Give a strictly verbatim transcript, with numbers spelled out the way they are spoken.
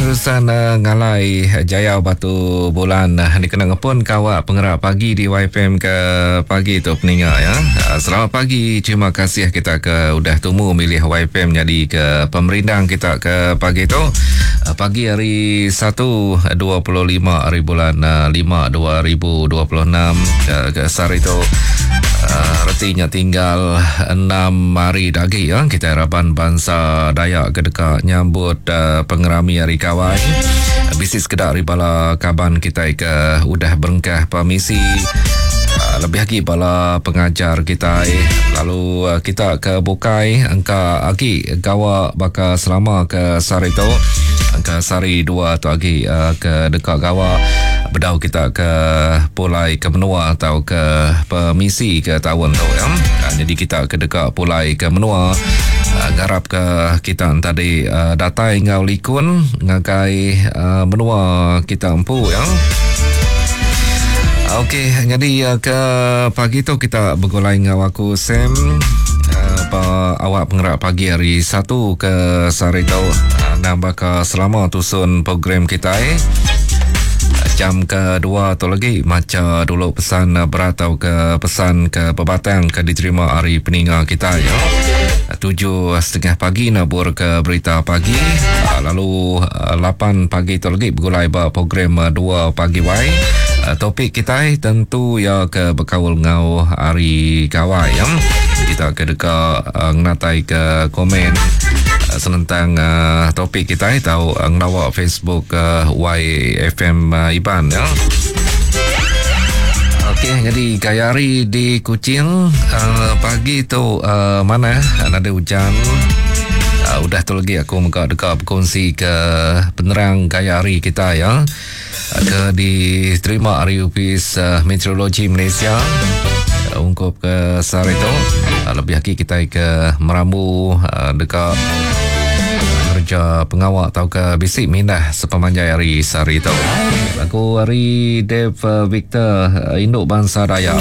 Terusan uh, ngalai Jayau Batu Bulan uh, dikena ngepun kawak pengerak pagi di Y F M ke pagi tu peninga ya. Uh, selamat pagi, terima kasih kita ke udah tumu milih Y F M jadi ke pemerindang kita ke pagi tu. Uh, pagi hari satu dua puluh lima hari bulan uh, lima dua ribu dua puluh enam uh, ke sehari tu. Uh, retinya tinggal enam hari lagi ya kita harapan bangsa Dayak ke dekat nyambut uh, pengerami hari kawai. Bisi sekedar bala kaban kita ke udah berengkah permisi. Uh, lebih lagi bala pengajar kita lalu uh, kita ke bukai engka agi gawa baka selama ke sehari tu engka sehari dua tu agi uh, ke dekat gawa bedau kita ke pulai ke menua atau ke permisi ke tahun tu ya. Uh, jadi kita ke dekat pulai ke menua uh, ngarap ke kita tadi uh, datai ngau likun ngagai uh, menua kita empu ya. Okey, jadi ke pagi tu kita bergulai dengan aku Sam uh, pa awak pengerak pagi hari satu ke sehari tu uh, nambah ke selama tusun program kita eh. Jam kedua tu lagi maca dulu pesan berat atau ke pesan ke pebatang ke diterima hari peninga kita ya. Tujuh setengah pagi nabur ke berita pagi, lalu lapan pagi tu lagi bergulai ba program dua pagi wai. Topik kita tentu ya ke berkaul ngau hari gawai ya. Kita ke dekat ngatai ke komen senentang uh, topik kita tahu uh, ngelawak Facebook uh, Y F M uh, Iban ya. Okey, jadi gaya hari di Kuching uh, pagi tu uh, mana ada hujan. Uh, udah tu lagi aku mega dekat berkongsi ke penerang gaya hari kita ya. Uh, ke diterima hari Ofis uh, Meteorologi Malaysia. Uh, ungkup ke sehari tu uh, lebih lagi kita ke merambu uh, dekat kerja pengawak atau ke bisik mindah sepemanjai hari sehari tu. Lagu hari Dave Victor Induk Bangsa Dayak.